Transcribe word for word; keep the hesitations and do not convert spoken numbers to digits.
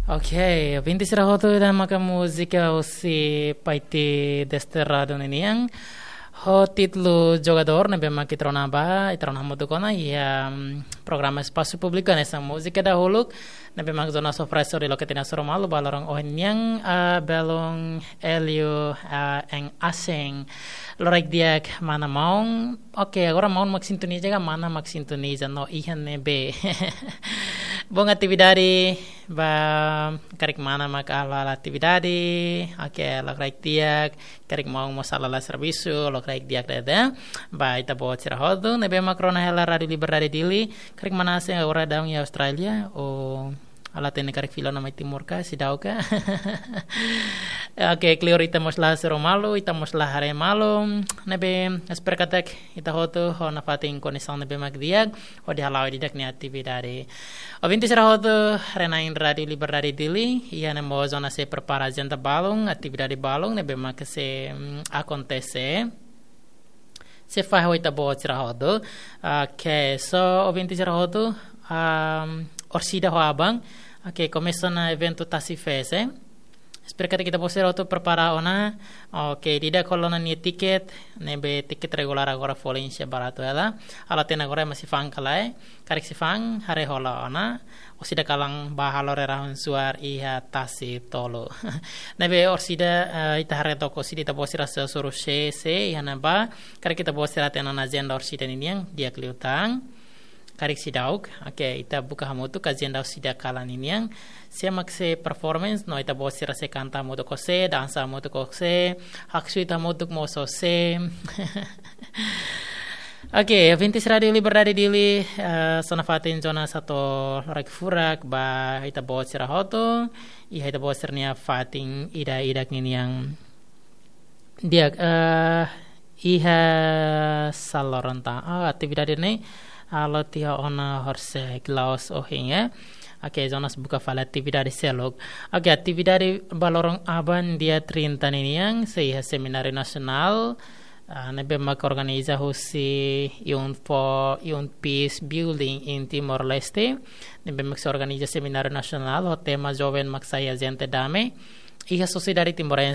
Ok, ouvinte sira hotu, ida maka múzika husi Paiti Desterrado ninian ho títulu Jogadór, ne'ebé mak ita rona ba, ita rona hamutuk ona iha, mm, programa Espasu Públiku hanesan múzika dahuluk ne'ebé mak Jonas oferese hodi loke tiha ona sira malu ba loron ohin nian, ah, belun Hélio, ah, en Aseng. Lokraik di'ak mana maun. Ok, agora maun mak sintoniza ka mana mak sintoniza no iha ne'ebé? Bom, atividade ba karik mana mak halo atividade. Ok, lokraik di'ak, karik maun mós halo servisu, lokraik di'ak de'it. Ba ita-boot sira hotu ne'ebé mak rona hela Rádio Liberdade Dili, karik mana Aseng agora daudaun iha Austrália, ou la hatene karik fila ona mai Timor ka, seidauk ka. Ok, kleur ita mós la hasoru malu, ita mós la haree malu. Ne'ebé espera katak ita hotu ho nafatin kondisaun ne'ebé mak di'ak hodi hala'o ida-idak nia atividade. Ouvinte sira hotu, haree-na'in Rádio Liberdade Dili, iha ne'e mós ona sei prepara ajenda balun, atividade balun ne'ebé mak sei, mm, akontese. Sei fahe ho ita-boot sira hotu. Ok, so ouvinte sira hotu, um, orsida ho aban. Ok, komesa ona eventu Tasi Fest, eh. Espera katak ita-boot sira hotu prepara ona. Ok, ida-idak hola ona nia tiket, ne'ebé tiket regulár agora folin sei baratu hela. La hatene agora ema sei fa'an ka lae. Karik sei fa'an, haree hola ona. Orsida kalan ba halo rerahun suar iha Tasi Tolu. Ne'ebé orsida, eh, ita haree took orsida ita-boot sira sei hasoru sé, sé iha ne'ebá. Karik ita-boot sira hatene ona ajenda orsida ninian, di'ak liután. Karik seidauk, ok, ita buka hamutuk ajenda orsida kalan ninian. Sé mak sei performance, no ita-boot sira sei kanta hamutuk ho sé, dansa hamutuk ho sé, haksoit hamutuk mós ho sé. Ok, ouvinte sira Rádio Liberdade Dili, eh, so nafatin Jonas hato'o lokraik furak ba ita-boot sira hotu, iha ita-boot sira-nia fatin ida-idak ninian. Di'ak, eh, iha saloran ta, ah, atividade ne'e halo tiha ona horisehik loos ohin, eh. Ok, Jonas buka fali atividade seluk. Ok, atividade ba loron aban dia trinta ninian, sei iha semináriu nasionál, ah, ne'ebé mak organiza husi Youth for, Youth Peace Building in Timor-Leste, ne'ebé mak sei organiza semináriu nasionál ho tema Joven mak sai Ajente Dame iha sosiedade timorense.